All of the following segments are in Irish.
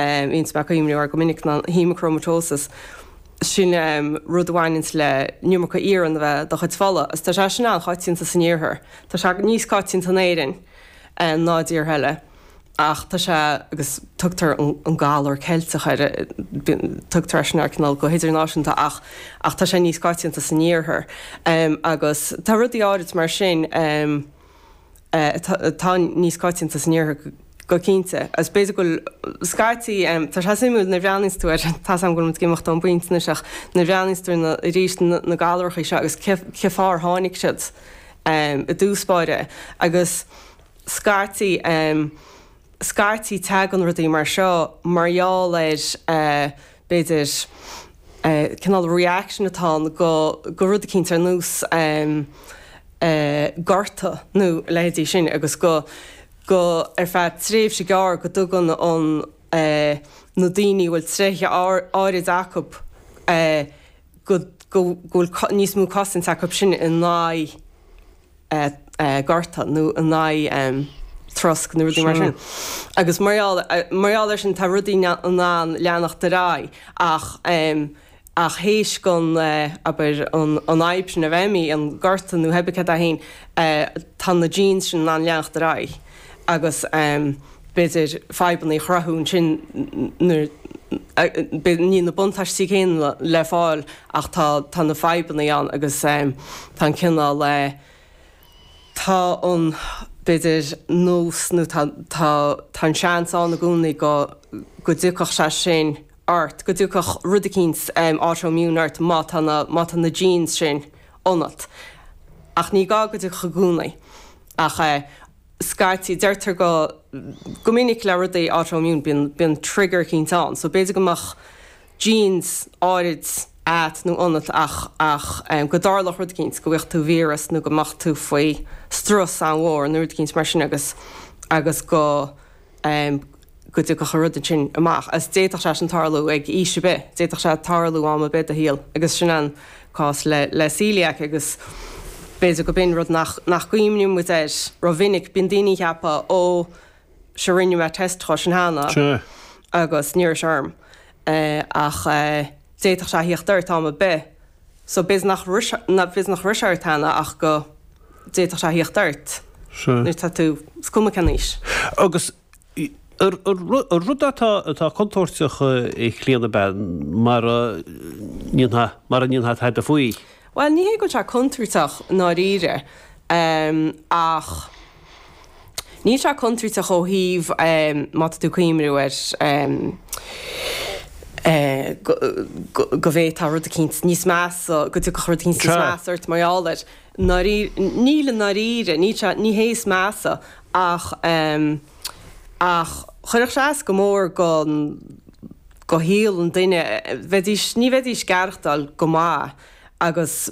Bhíonns mé ag cuimhniú air go minic ná haemachromatosis. Sin rud a bhaineanns le an iomarca iarann a bheith i do chuid fola. Agus tá sé sin an-choitianta san iarthar. Tá sé níos coitianta in Éirinn ná i dtíortha eile. Ach tá sé, agus tugtar an galar Ceilteach air, tugtar é sin air cineál go hidirnáisiúnta ach ach tá sé níos coitianta san iarthar. Agus tá rudaí áirid mar sin. atá níos coitianta san iarthar go cinnte. Agus b'fhéidir go bhfuil, scaití, tá sé suimiúil nuair a bhreathnaíonns tú air, tá 's agam go bhfuil muid ag imeacht ón bpointe anois ach nuair a bhreathnaíonns tú ar na, arís, na galrachaí seo agus cé, cé fáth ar tháinig siad i dtús báire agus scaití, scaití tagann rudaí mar seo mar gheall ar, b'fhéidir, cineál reaction atá ann go, go rud eicínt ar nós, gorta nó a leithéidí sin agus go, go, ar feadh tréimhse gearr go dtugann an, na daoine a bhfuil tréithe áirid acu go, go bhfuil níos mó cosaint acu sin in aghaidh gorta nó in aghaidh trosc nó rudaí mar sin. Agus mar gheall, mar gheall air sin tá rudaí in ann leanacht ar aghaidh ach, Ach théis don, abair, an fhadhb sin a bheith imithe, an gorta nó pé ar bith céard é féin, tá na genes sin in ann leanacht ar aghaidh agus b'fhéidir fadhbanna a chruthú ansin nuair, níl na buntáistí céanna le fáil ach tá, tá na fadhbanna ann agus tá an cineál, tá an, b'fhéidir, nós nó tá, tá, tá an seans ann i gcónaí go, go dtiocfadh sé sin. ort, go dtiocfadh rud eicínt autoimmune ort má tá na, má tá na genes sin ionat. Ach ní gá go dtiocfadh i gcónaí. Ach eh scaití, deirtear go, go minic le rudaí autoimmune bíonn, bíonn trigger eicínt ann. So b'fhéidir go mbeadh genes áirid a't nó ionat ach, ach go dtarlódh rud eicínt, go bhfaigheadh tú víreas nó go mbeadh tú faoi strus an-mhór nó rud eicínt mar sin agus, agus go, go dtiocfadh an rud ansin amach. Agus d'fhéadfadh sé sin tarlú ag aois ar bith, d'fhéadfadh sé tarlú am ar bith i do shaol agus sin an cás le le celiac agus b'fhéidir go b'in rud nach nach gcuimhníonn muid air rómhinic. Bíonn daoine ag ceapadh ó sure rinne mé test dhó sin cheana agus ní raibh sé orm ach d'fhéadfadh sé a thíocht ort am ar bith. So b'fhéidir nach b'fhéidir nach raibh sé ort cheana ach go d'fhéadfadh sé a thíocht ort nuair atá tú, is cuma cén aois. Agus an rud atá atá contúirteach a Chlíona ab ea mara ndéanfá mara ndéanfá tada faoi? Bhuel, ní hé go bhfuil sé contúirteach i ndáiríre ach níl sé contúirteach ó thaobh má tá tú ag cuimhniú ar go bhféadfá rud eicínt níos measa, go dtiocfadh rud eicínt níos measa ort mar gheall air. Níl i ndáiríre, níl sé, ní hé is measa ach ach chuirfeadh sé as go mór go go shaol an duine, bheidís, ní bheidís ag aireachtáil go maith agus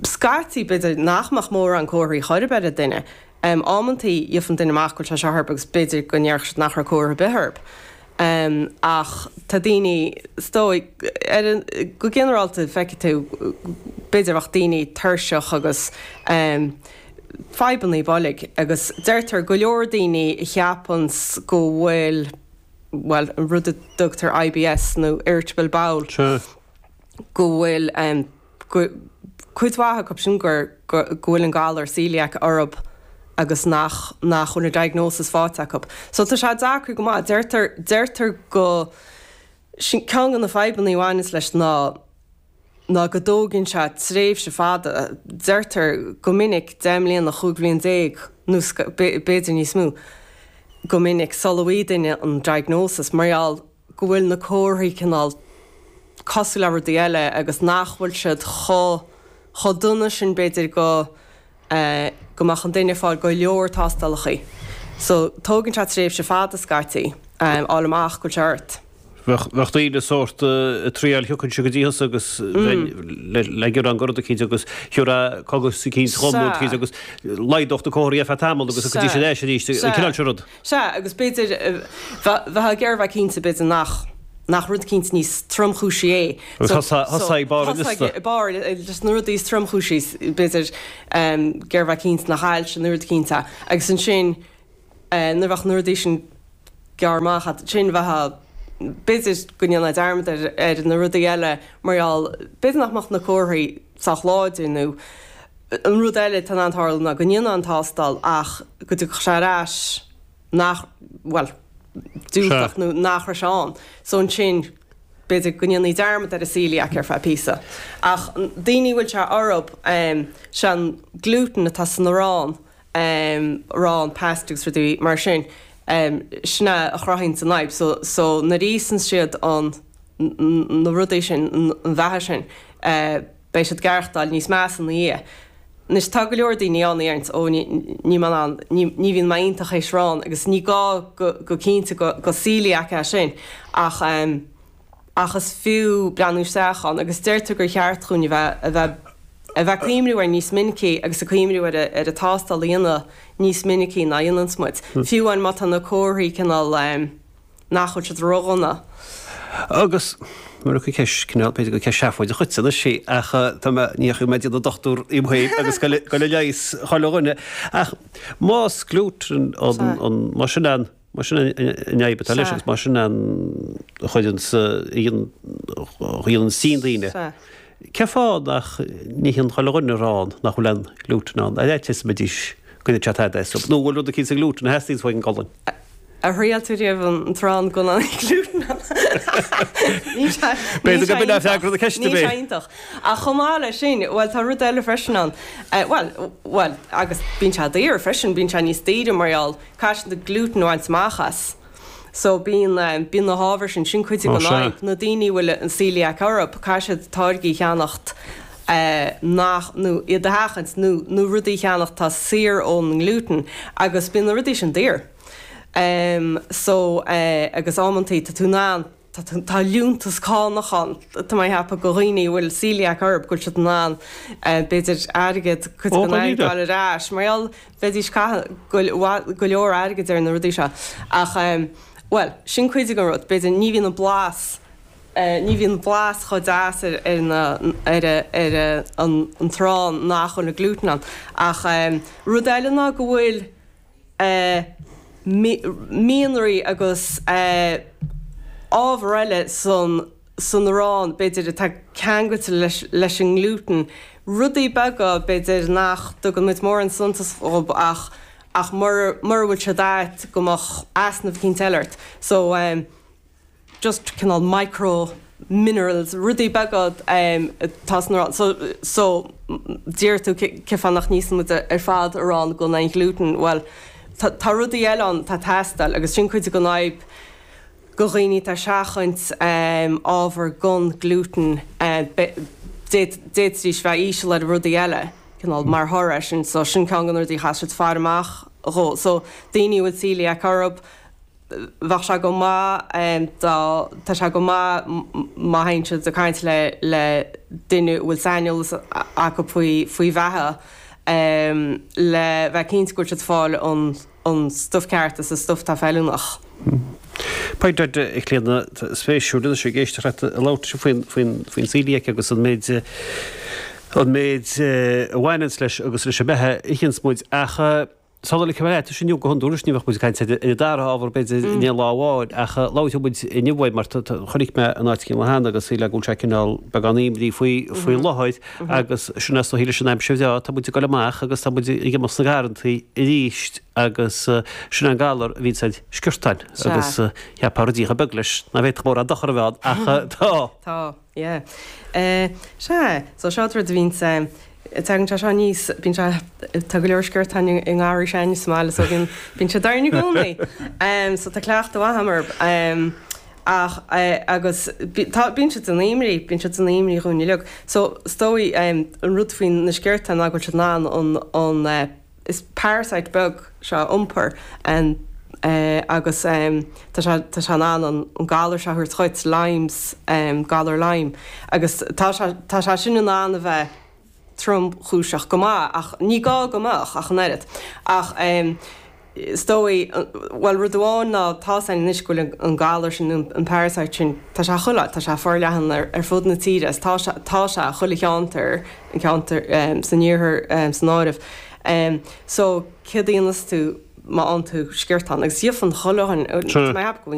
scaití b'fhéidir nach mbeadh mórán comharthaí chor ar bith ar an duine. Amantaí gheobhadh an duine amach go bhfuil sé seo orthu agus b'fhéidir go ndéarfadh siad nach raibh comhartha ar bith orthu. Ach tá daoine, is dóigh, ar an, go ginearálta feicfidh tú, b'fhéidir bheadh daoine tuirseach agus fadhbannaí boilg agus deirtear go leor daoine a cheapanns go bhfuil, bhuel, an rud a dtugtar IBS nó irritable bowel, go bhfuil go, cuid mhaith acu sin gur, go bhfuil an galar celiac orthu agus nach, nach bhfuil an diagnosis faighte acu. So tá sé deacair go maith. Deirtear, deirtear go, sin ceann de na fadhbanna a bhaineanns leis ná, ná go dtógann sé tréimhse fada, deirtear go minic 10 mbliana, 15 bhliain nó b'fhéidir níos mó, go minic sula bhfaighidh duine an diagnosis mar gheall go bhfuil na comharthaí cineál cosúil le rudaí eile agus nach bhfuil siad chomh chomh dona sin b'fhéidir go go mbeadh an duine ag fáil go leor tástálacha. So tógann sé tréimhse fada scaití fháil amach go bhfuil sé ort. Bheadh bheadh daoine sórt ag triail thiocfainnse go dtí thusa agus bheinn le le gearán go rud eicínt agus thiúrfá cogais eicínt dhom nó rud eicínt agus laghdódh na comharthaí ar feadh tamaill agus thiocfaidís ar ais arís, an cineál sin rud. Sea, agus b'fhéidir, bheifeá ag iarraidh a bheith cinnte, b'fhéidir nach, nach rud eicínt níos tromchúisí é. Thosaigh ag barr an liosta. Thosaigh ag barr, leis na rudaí is tromchúisí, b'fhéidir, ag iarraidh a bheith cinnte nach ailse nó rud eicínt é. Agus ansin, nuair a bheadh na rudaí sin. gearr amach a'd, sin bheadh, b'fhéidir go ndéanfá dearmad ar, ar na rudaí eile mar gheall, b'fhéidir nach mbeadh na comharthaí sách láidir nó an rud eile atá in ann tarlú ná go ndéanfá an tástáil ach go dtiocfadh sé ar ais nach, bhuel, diúltach nó nach raibh sé ann. So ansin b'fhéidir go ndéanfaí dearmad ar an celiac ar feadh píosa. Ach daoine a bhfuil sé orthub, sé an gluten atá san arán, arán, pasta agus rudaí mar sin, sin é a chruthaíonns an fhadhb. So, so nuair a íosann siad an, na rudaí sin, an bheatha sin, beidh siad ag aireachtáil níos measa ina dhiaidh. Anois tá go leor daoine ann a deireanns ó ní níl mé in ann, ní ní bhíonn mé iontach théis arán agus ní gá go go cinnte go go celiac é sin ach ehm ach is fiú breathnú isteach ann agus deirtear gur cheart dhúinn a bheith a bheith a bheith ag cuimhniú air níos minicí agus ag cuimhniú ar a ar an tástáil a dhéanamh níos minicí ná a dhéananns muid. Fiú amháin má tá na comharthaí cineál ehm nach bhfuil siad ródhona. Agus, mar gur ceist, cineál, b'fhéidir gur ceist seafóideach dhuitse anois í, ach tá mé, ní dheachaigh mé ag déanamh dochtúir dhíom féin agus goil ag leigheas chuile dhuine, ach más gluten an, an, más sin an, más sin an fhadhb atá leis agus más sin an a chuireanns, a dhéanann tinn daoine, cén fáth nach n-itheann chuile dhuine arán nach bhfuil aon gluten ann? Ar fhaitíos go mbeidís, go ndéanfadh sé tada as, nó an bhfuil rud eicínt sa ghluten a theastaíonns uaidh an gcolainn? Ar thriail tú riamh an t-arán gan an gluten ann? Níl sé B'fhéidir go b'in é freagra na ceiste, Níl sé iontach. Ach chomh maith leis sin, bhuel, tá rud eile freisin ann. Bhuel, bhuel, agus bíonn sé daor freisin, bíonn sé níos daoire mar gheall, caithfidh siad an gluten a bhaint amach as. So bíonn, bíonn na hábhair sin, sin cuid den fhadhb. Na daoine a bhfuil an celiac orthu, caithfidh siad táirgí a cheannacht nach, nó iad a sheachaint, nó, nó rudaí a cheannacht atá saor ón ngluten agus bíonn na rudaí sin daor. So, agus amantaí tá tú in ann, tá, tá liúntas cánach ann, tá mé ag ceapadh do dhaoine a bhfuil celiac orthu go bhfuil siad in ann b'fhéidir airgead, cuid den airgead a fháil ar ais mar gheall bheidís ag caitheamh go leor airgid ar na rudaí seo. Ach, bhuel, sin cuid den rud, b'fhéidir ní bhíonn an blas, ní bhíonn blas chomh deas ar ar na ar ar an an t-arán nach bhfuil an gluten ann. Ach rud eile ná go bhfuil mianraí agus ábhar eile san san arán, b'fhéidir, atá ceangailte leis leis an nglúten. Rudaí beaga, b'fhéidir, nach dtugann muid mórán suntas dhób ach ach mura mura bhfuil siad a'd go mbeadh easnamh eicínt eile ort. So. just cineál micro minerals, rudaí beaga atá san arán. So, so deir tú cén fáth nach n-íosann muid ar fad arán gan aon ghlúten? Bhuel, tá, tá rudaí eile ann atá ag teastáil agus sin cuid den fhadhb do dhaoine atá ag seachaint ábhar gan glúten, d'fhéadfaidís bheith íseal ar rudaí eile, cineál mar thoradh air sin. So sin ceann de na rudaí a chaithfidh siad faire amach dhó. So daoine a bhfuil celiac orthu, Bheadh sé go maith dá, tá sé go maith má théann siad ag caint le le duine a bhfuil saineolas acu faoi faoi bheatha le bheith cinnte go bhfuil siad ag fáil an an stuif ceart agus an stuif atá feiliúnach. Pointe a Chlíodhna, spéisiúil anois ag éisteacht leat ag labhairt faoin faoin faoin celiac agus an méid an méid a bhaineanns leis agus leis an mbeatha a itheanns muid ach Sula ligfidh mé leat, inniu go hiondúil anois ní bheadh muid ag caint ar an dara hábhar b'fhéidir in aon lá amháin ach labhróidh muid inniu faoi mar chonaic mé in áit éigin cheana agus shílfeá go bhfuil sé cineál beagán imní faoi faoi láthair agus sin is dóichí leis an aimsir bhreá tá muid ag dul amach agus tá muid ag imeacht sna garrantaí arís agus sin an galar a bhíonns ar sciortáin agus cheapfá ruidín chomh beag leis ná bhféadfadh mórán dochar a bheith ann ach tá. Tá. Yeah. Eh, sea, so seo rud a bhíonns, eh, tagann sé seo aníos, bíonn sé, tá go leor sciortáin i ngarraí s'againne sa mbaile so bíonn, bíonn siad orainn i gcónaí. Em, so tá cleachtadh mhaith agam orthu. Em, ach, eh, agus bí, tá, bíonn siad ina imní, bíonn siad ina imní dhúinn uilig. So, is dóigh, em, an rud faoi na sciortáin ná go bhfuil siad in ann an, an, eh, Is parasite beag seo a iompar agus tá sé tá sé in ann an galar seo a thabhairt dhuit, Lyme's, galar Lyme. Agus tá sé tá sé sin in ann a bheith tromchúiseach go maith ach ní gá go mbeadh ach an oiread. Ach is dóigh, bhuel rud amháin ná tá's againn anois go bhfuil an galar sin, an parasite sin, tá sé chuile áit, tá sé forleathan ar fud na tíre agus tá sé tá sé chuile cheantar, an ceantar san iarthar san áireamh. So céard a dhéanfas tú? má fhaigheann tú sciortán agus gheofann chuile dhuine, tá mé ag ceapadh go bhfuil.